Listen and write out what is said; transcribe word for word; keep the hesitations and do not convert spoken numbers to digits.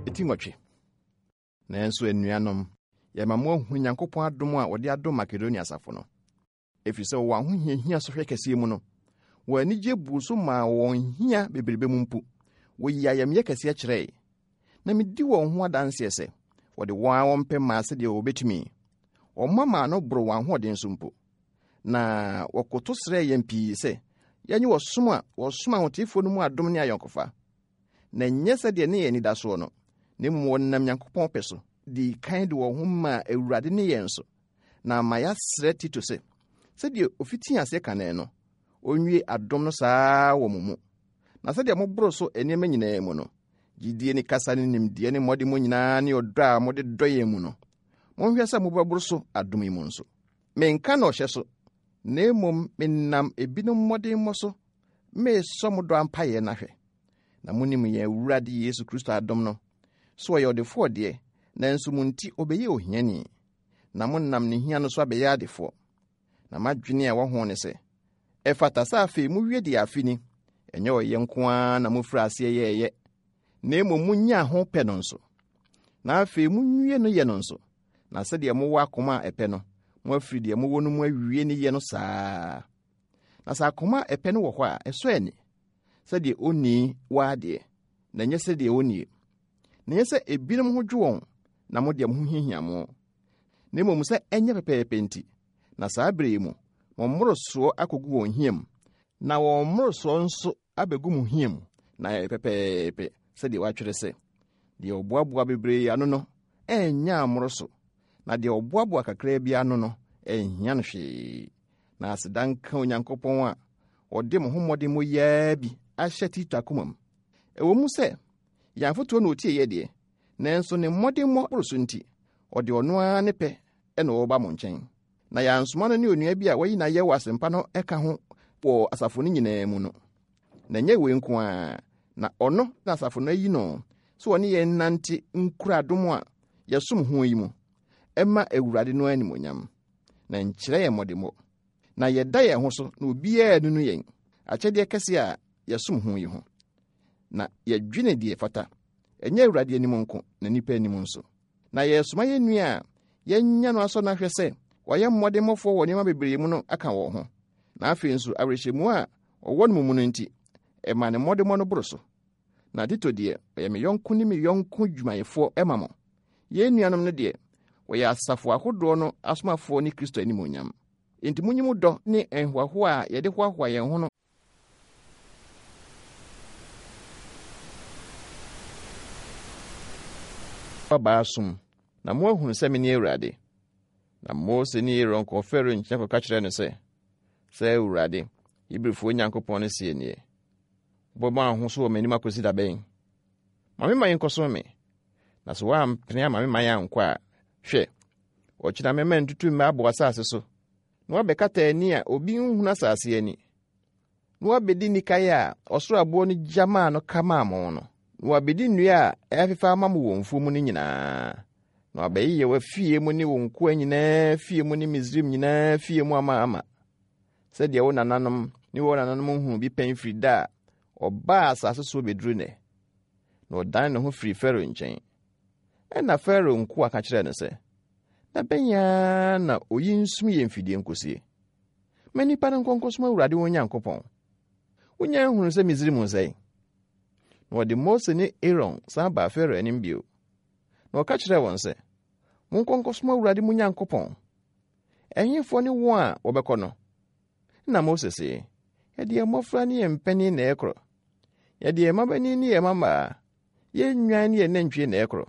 Eti nwɔtwe. Nanso anuanom, yɛma mo ahu Nyankopɔn adom a wɔde adom Makedonia asafo no. Ɛfiri sɛ wɔwɔ ahohiahia sɔhwɛ kɛseɛ mu no, wɔn anigye buu so maa wɔn hia bebrebe mu mpo, wɔyii ayamyɛ kɛseɛ kyerɛe. Na medi wɔn ho adanseɛ sɛ, wɔde wɔn a wɔmpɛ maa sɛdeɛ wɔbɛtumi. Wɔma maa no boro wɔn ahoɔden so mpo. Na wɔkoto srɛɛ yɛn pii sɛ, yɛnye wɔsom a wɔsom ahoteefoɔ no mu adom ne ayɔnkofa. Na ɛnyɛ sɛdeɛ ne yɛn anidasoɔ no, na mmom wɔnam Nyankopɔn pɛ so dii kan de wɔn ho maa Awurade ne yɛn so. Na ama yɛasrɛ Tito sɛ, sɛdeɛ ofitii aseɛ kane no, onwie adom no saa wɔ mo mu. Na sɛdeɛ moboro so nneɛma nyinaa mu no, gyidie ne kasa ne nimdeɛ ne mmɔde mu nyinaa ne ɔdɔ a mode dɔ yɛn mu no, monhwɛ sɛ mobɛboro so adom yi mu nso. Menka no ɔhyɛ so, na mmom menam ebinom mmɔdemmɔ so meresɔ mo dɔ ampayɛ no ahwɛ. Na monim yɛn Awurade Yesu Kristo adom no, so ɔyɛ ɔdefoɔ deɛ, nanso mo nti ɔbɛyɛ ohiani, na monam ne hia no so abɛyɛ adefoɔ. Na m'adwene a ɛwɔ ho ne sɛ, ɛfata sɛ afei mowie deɛ afe ni, ɛnyɛ ɔyɛ nko ara na mofiri aseɛ yɛɛyɛ, na mmom monyaa ho pɛ no nso. Na afei monwie no yɛ no nso, na sɛdeɛ mowɔ akoma a ɛpɛ no, moafiri deɛ mowɔ no mu awie ne yɛ no saa. Na sɛ akoma a ɛpɛ no wɔ hɔ a, ɛsɔ ani, sɛdeɛ onii wɔ adeɛ, na ɛnyɛ sɛdeɛ onnie. Na ɛnyɛ sɛ ebinom ho dwo wɔn, na mo deɛ mo ho hiahia mo. Na mmom sɛ ɛnyɛ pɛpɛɛpɛ nti, na saa bere yi mu, mo mmorosoɔ akɔgu wɔn hia mu, na wɔn mmorosoɔ nso abɛgu mo hia mu, na ɛyɛ pɛpɛɛpɛ sɛdeɛ wɔatwerɛ sɛ, deɛ ɔboaboa bebree ano no, ɛnnya mmoro so, na deɛ ɔboaboa kakraa bi ano no, ɛnhia no hwee. Na aseda nka Onyankopɔn a ɔde mo ho mmɔden yi bi ahyɛ Tito akoma mu. Ɛwɔ mu sɛ yɛn afotuo na otie yɛ deɛ, nanso ne mmɔdemmɔ boro so nti, ɔde ɔno ara ne pɛ ɛna ɔreba mo nkyɛn. Na yɛansoma no ne onua bi a wayi n'ayɛ wɔ asɛmpa no ɛka ho wɔ asafo no nyinaa mu no. Na ɛnyɛ wei nko ara, na ɔno na asafo no ayi no sɛ ɔne yɛn nante nkura adom a yɛsom ho yi mu, ɛma Awurade no animonyam, na nkyerɛ yɛn mmɔdemmɔ. Na yɛda yɛn ho so na obiara nunu yɛn akyɛdeɛ kɛse a yɛsom ho yi ho. Na yɛdwene deɛ fata, ɛnyɛ Awurade anim nko na nnipa anim nso. Na yɛsoma yɛn nua a yɛanya no asɔ no ahwɛ sɛ wɔyɛ mmɔdemmɔfoɔ wɔ nneɛma bebree mu no aka wɔn ho. Na afei nso awerɛhyɛmu a ɔwɔ no mu no nti, ɛma ne mmɔdemmɔ no boro so. Na Tito deɛ, ɔyɛ me yɔnko ne me yɔnko dwumayɛfoɔ ɛma mo. Yɛn nuanom no deɛ, wɔyɛ asafo ahodoɔ no asomafoɔ ne Kristo animuonyam. Enti monyi mo dɔ ne nhoahoa a yɛde hoahoa yɛn ho no abaa som, na moahunu sɛ mene Awurade. Na Mose ne Aaron kɔɔ Farao nkyɛn kɔka kyerɛɛ no sɛ, sɛ Awurade, Hebrifoɔ Nyankopɔn no seɛ nie, wobɛma wo ho so wɔ m'anim akɔsi da bɛn? Ma me man nkɔsom me. Na sɛ woampene ama me man ankɔ a, hwɛ, ɔkyena mɛma ntutummɛ abɔ asase so, na woabɛkata ani a obi nhunu asase ani, na woabɛdi nnikaeɛ a ɔsoro aboɔ no gya maa no ka maa mo no, na woabɛdi nnua a ɛfefa ama mo wɔ mfuo mu no nyinaa, na wabɛyeyɛ w'afie mu ne wo nkoa nyinaa fie mu ne Misraim nyinaa fie mu ama ama, sɛdeɛ wo nananom ne wɔn nananom nhunu bi pɛn firi da a ɔbaa asase so bɛduru nnɛ. Na ɔdan ne ho firi Farao nkyɛn. Ɛnna Farao nkoa ka kyerɛɛ no sɛ, da bɛn ara na oyi nsum yɛn mfidie nkosie? Ma nnipa no nkɔ nkɔsom Awurade wɔn Nyankopɔn. Wonya nhunu sɛ Misraim nsɛe. Na wɔde Mose ne Aaron san baa Farao anim bio. Na ɔka kyerɛɛ wɔn sɛ, monkɔ nkɔsom Awurade mo Nyankopɔn. Ɛhefoɔ ne wɔn a wɔbɛkɔ no? Na Mose se, yɛde yɛn mmɔfra ne yɛn mpanin na ɛkorɔ. Yɛde yɛn mmabanin ne yɛn mmammaa, yɛn nnwan ne yɛn nantwie na ɛkorɔ.